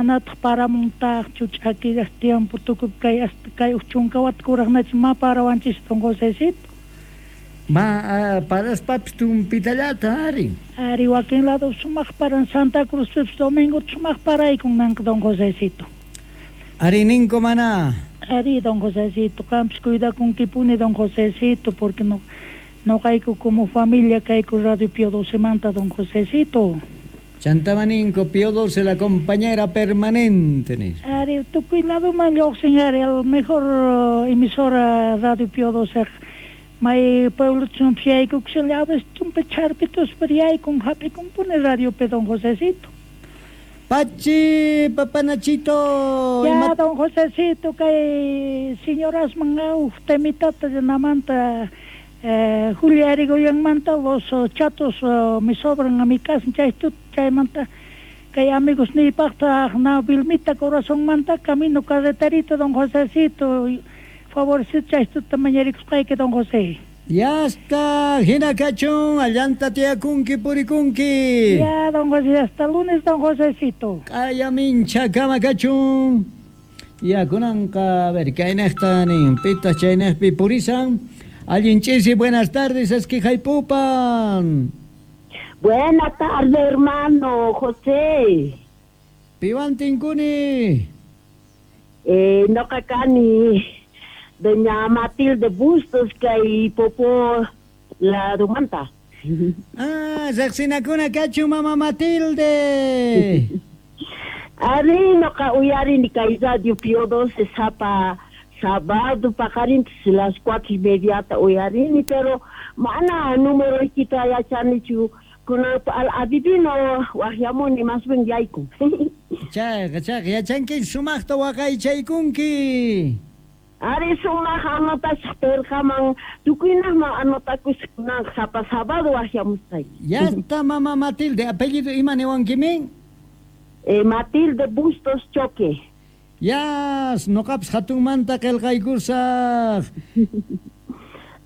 Manataq paramuntaqchu ch'akillaq tiempo tukuy kay hasta kay uj chunka wata kuraqnachu ma parawanchis don Josecito. Ma paraspapis tumpitallata ari. Ari wakin lado sumaq paran Santa Cruzpipis domingo sumaq paraykun nanqa don Josecito. Ari ninko mana. Ari don Josecito, qampis cuidakunkipuni don Josecito, porque no noqayku como familia kayku Radio Pío XII manta don Josecito. Chantamaninko Pío XII la compañera permanente nispa. Ari tukuy ladoman lluqsin ari el mejor emisora Radio Pío XII may pueblo chumpi yaykukushala a veces chumpi charpituspa yaykun hap'ikunpuni radiopi don Josecito. Pachi, papanachito. Ya, don Josecito, kay señorasman uj temitata llanamanta Julia Erigoyenmanta los chatos me sobran a mi casa chay chaymanta kay amigos niypaqta na Vilmita corazonmanta camino carreterito don Josecito favorcito chay tuta mañarikusqayki don José. Ya está, hina kachun, allanta tiyakunki purikunki. Ya, don José, hasta lunes, don Josecito. Kaya mincha kama kachun. Ya, kunanqa, a ver, kaynejta nin, pitas chaynejpi purisan. Allin ch'isi, buenas tardes, esquijaypupan. Buenas tardes, hermano José. Piwan tinkuni. Noqa kani doña Matilde Bustos kay Popo ladumanta. Ah, riqsinakuna kachun mama Matilde. Ari noqa uyarini kay Radio Pío XII sapa sábado paqarintas las 4:30 uyarini, pero mana número kita yachanichu kunan al adivino waqyamuni más bien yaykun. Chayqa, chayqa, yachanki sumaqta waqaychaykunki. Ari sumaq anotasaq perqaman tukuynaqman anotakusaq kunan sapa sábado waqyamusqayki. Ya está mama Matilde, apellido ima niwankimin? Matilde Bustos Choque. Yas, noqapis hatunmanta qillqaykusaq.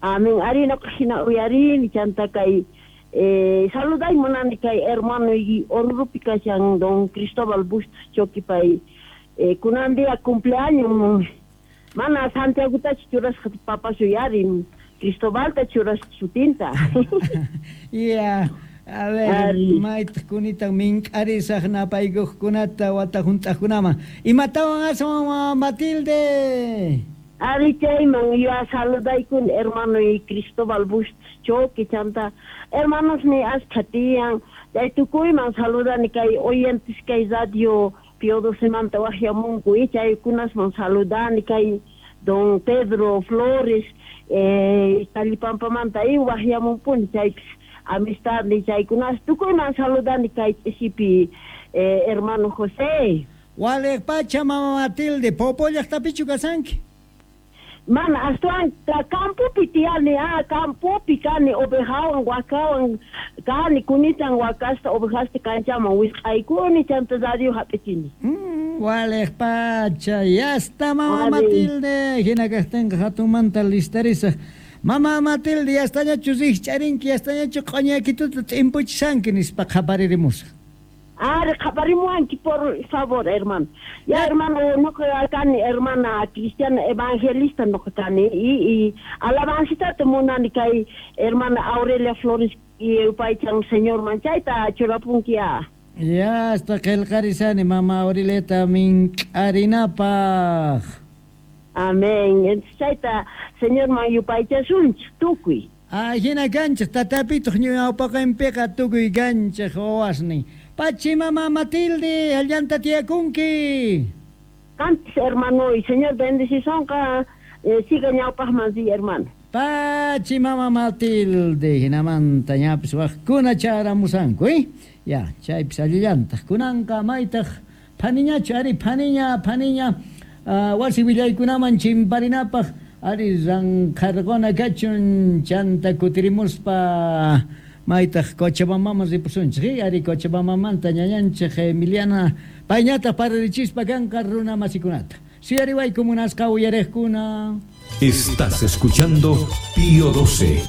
Amén. Ari noqa hina uyarini chanta kay saluday munani kay hermano y Orurupi kashan don Cristóbal Bustos Choque pay kunan día cumpleaños mana Santiagotachu churasqa papas uyarin Cristobalta churasqa sutinta. Ya, a ver, maytaq kunita mink'arisaq napaykuqkunata wata hunt'aqkunaman. Imatawan aswan Matilde? Ari chayman yo saludaykuni hermano y Cristóbal Bustos Choque chanta hermanos ni askha tiyan chay tukuyman saludani kay oyentes kay Radio Pío XII manta waqyamunku y chaykunasman saludani kay don Pedro Flores Tallipampamanta y waqyamunpuni chaypis amistad ni chaykunas tukuyman saludani kay ch'isipi hermano José. Waliq pacha mama Matilde, Popo llaqtapichu kasanki? Mana aswan campopi tiyani, campopi kani ovejawan wakawan kani kunitan wakasta ovejasta kanchaman wisq'aykuni chanta radio hap'ichini. Waliq pacha, ya está mama Matilde, hina kaqtinqa hatunmanta listarisaq. Mama Matilde, ya estañachu rikch'arinki, ya estañachu q'oñakituta t'impuchisanki nispa qhaparirimusaq. Ari qhaparimuwanki por favor, hermano. Ya hermano, noqa kani hermana cristiana evangelista noqa kani y alabancitata munani kay hermana Aurelia Flores y yupaychan señor manchayta churapunki ya. Ya hasta qillqarisani mama Aureliata mink'arinapaq. Amén. Entonces chayta señor man yupaychasunchik tukuy. Hina kanchik tatapituq ñawpaqinpiqa tukuy kanchik wawasnin. Pachi mama Matilde, allanta tiyakunki. Cantes hermano y señor bendicisonqa siga ñawpaqman sí hermano. Pachi mama Matilde, hinamanta ñapis waqkuna charamusanku, Ya, chaypis allillantaq kunanqa maytaq phaniñachu ari phaniña phaniña wasi willaykunaman chimparinapaq ari ranqharquna kachun chanta kutirimuspa maytaq Cochabambaman ripusunchik, ari Cochabambamanta ñañanchik Emiliana payñataq pararichispa kanqa runa masikunata. Suyariwayku munasqa uyariqkuna. Estás escuchando Pío XII.